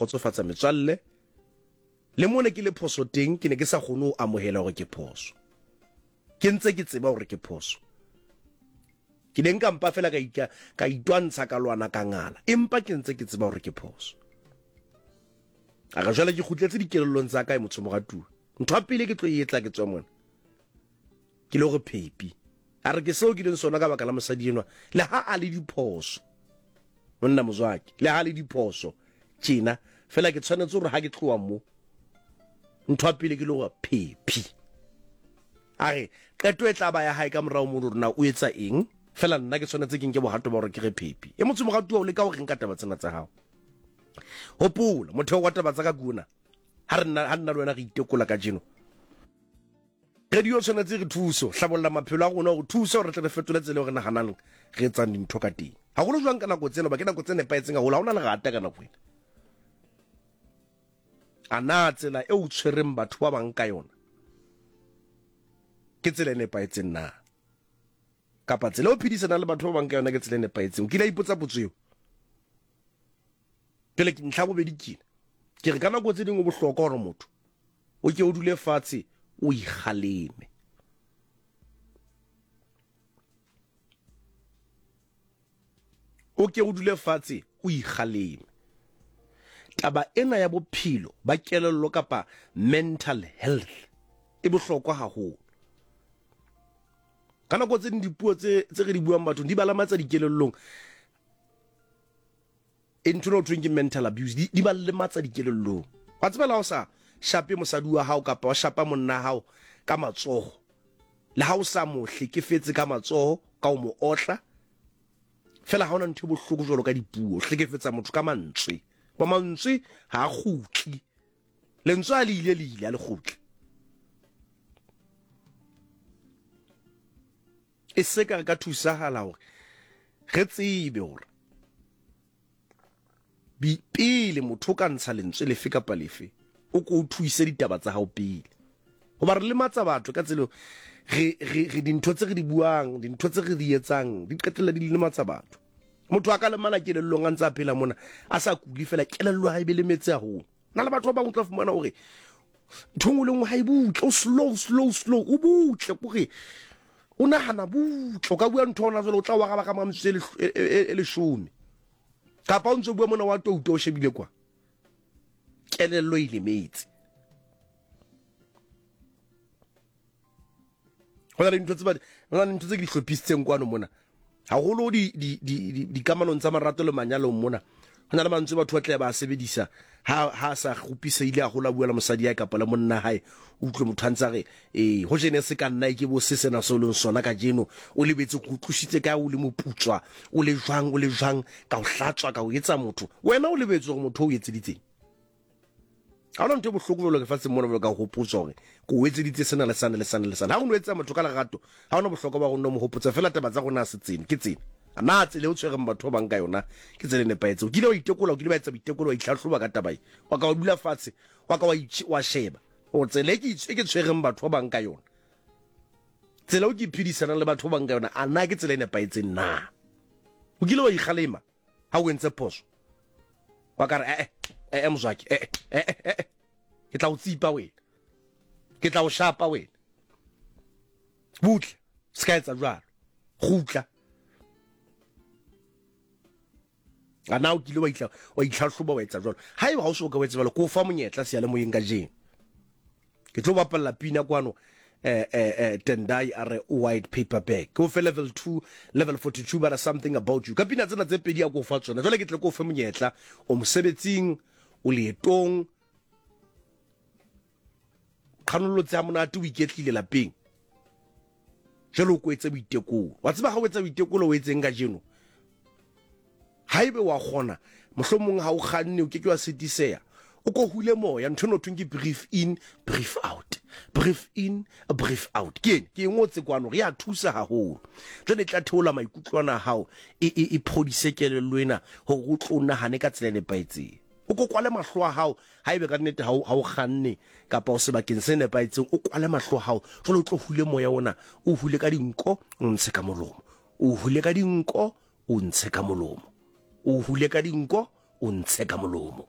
kgotsofatsa metswalle. Le mo ne ke le phoso teng, ke ne ke sa kgone ho amohela hore ke phoso. Ke ntse ke tseba hore ke phoso. Ke ne nka mpa fela ka ika, ka itwantsha ka lwana ka ngala, empa ke ntse ke tseba hore ke phoso. A re jwale ke kgutletse dikelellong tsa ka e motho moratuwa. Ntho ya pele ke tlo e etla ke tswa mona. Ke le hore phepi. A re ke seo ke leng sona ka baka la mosadi enwa. Le ha a le diphoso. Monna mozwaki, le ha le diphoso tjena, fela ke tshwanetse hore ha ke tloha mo, ntho ya pele ke le hore phephi. A re qeto e tla ba ya hae ka morao mono hore na o etsa eng, fela nna ke tshwanetse ke nke bohato ba hore ke re phephi. E motho moratuwa o leka ho reng ka taba tsena tsa hao? Hopola, motheo wa taba tsa ka ke ona. Ha re nna, ha nna le wena re itekola kajeno. Radio tshwanetse re thuso hlabolla maphelo a rona gore thusa gore re tle re fetole tsela eo re naganang re etsang dintho ka teng haholo jwang ka nako tsena ba ke nako tse nepahetseng haholo ha o na lerata ka nako ena a na tsela e o tshwereng batho ba bang ka yona ke tsela e nepahetseng na kapa tsela e o phedisanang le batho ba bang ka yona ke tsela e nepahetseng o kile a ipotsa potso eo Pele ntlha bobedi ke ena. Ke re ka nako tse dingwe bohlokwa gore motho o ke o dule fatshe o ikgaleme. O ke o dule fatshe o ikgaleme. Taba ena ya bophelo ba kelello kapa mental health e bohlokwa haholo. Ka nako tse ding dipuo tse tse re di buang bathong di ba lematsa dikelellong. E ntho eno thweng ke mental abuse di, di ba lematsa dikelellong. Wa tseba la o sa shape mosadi wa hao kapa wa shapa monna hao ka matsoho, le ha o sa mo hlekefetse ka matsoho ka o mo otla, fela ha ona ntho e bohloko jwalo ka dipuo, hlekefetsa motho ka mantswe. Ba mantswe ha a kgutli. Lentswe a le ile le ile a le kgutle. E se ka re ka thusahala hore re tsebe hore pele motho o ka ntsha lentswe lefe kapa lefe, o ko o thuise ditaba tsa hao pele. Hoba re lematsa batho ka tsela re, re, re dintho tse re di buang, dintho tse re di etsang, di qetella di lematsa batho. Motho a ka lemala kelellong a ntse a phela mona, a sa kule fela, kelello ha e be lemetse haholo. Na le batho ba bangwe tla fumana hore ntho nngwe le nngwe ha e butle, o slow, slow, slow, o butle kore o nahana butle. O ka bua ntho hona jwale o tla o araba ka mora metsotso e, e, e, e leshome, kapa o ntse o bua mona wa touta o shebile kwa, kelello e lemetse. Go na le dintho tse go na le dintho tse ke di hlophisitseng kwano mona haholo di di di dikamanong tsa marato le manyalong mona. Go na le mantswe batho ba tle ba sebedisa ha ha sa kgopisehile haholo a bua le mosadi ya kapa le monna hae, o utlwe motho a ntse a re ee ho jene se ka nna e ke bo se sena se o leng sona kajeno, o lebetse go utlwisitse kae, o le moputswa, o le jwang, o le jwang, ka o hlatswa, ka o etsa motho, wena o lebetse gore motho o etseditseng. Ga ona ntho e bohloko jalo lefatsheng mona jalo ka gopotswa gore ke o etseditse sena le sane le sane le sane. Ga o no etsa motho ka lerato, ga ona bohlokwa ba go nno mo gopotsa fela taba tsa rona se tsene ke tsene. A na tsela e o tshwereng batho ba bang ka yona ke tsela e nepahetseng? O kile wa itekola, o kile wa etsa boitekolo, wa itlhahloba ka taba e, wa ka wa dula fatshe, wa ka wa sheba gore tsela e ke e tshwereng batho ba bang ka yona, tsela o ke iphedisanang le batho ba bang ka yona, a na ke tsela e nepahetseng na? O kile wa ikgalema ha o entse phoso, wa ka re ee ee mozwaki, ee ee ee ke tla o tsipa wena, ke tla o shapa wena, butle se ka etsa jwalo, kgutla. A na o kile wa itla wa itlhahloba wa etsa jwalo? Haeba ha o so ka o etsa jwalo, ke o fa monyetla seyalemoyeng kajeno. Ke tlo bapalla pina kwano eh, eh, eh, Tendai a re white paper bag. Ke o fe level 2, level 42 bara something about you. Ka pina tsena tse pedi a ko fa tsona. Jwale ke tle ke o fe monyetla, o mosebetsing, o leetong, qhanolotse ha monate, o iketlile lapeng. Jwale o ko etse boitekolo. Wa tseba ha o etsa boitekolo o etseng kajeno? Haebe wa kgona, mohlomong ha o kganne o ke ke wa sitiseha, o ko hule moya, ntho eno thweng ke breathe in, breathe out, breathe in, breathe out. Ke ene, ke e ngotse kwano, re ya thusa haholo. Jwale e tla theola maikutlo ana a hao, e, e, e phodise kelello ena hore o tlo nahane ka tsela e nepahetseng. O ko kwale mahlo a hao, haebe ka nnete ha o, ha o kganne kapa o sebakeng se nepahetseng, o kwale mahlo a hao, jwale o tlo hule moya ona, o hule ka dinko, o ntshe ka molomo, o hule ka dinko, o ntshe ka molomo, o hule ka dinko, o ntshe ka molomo.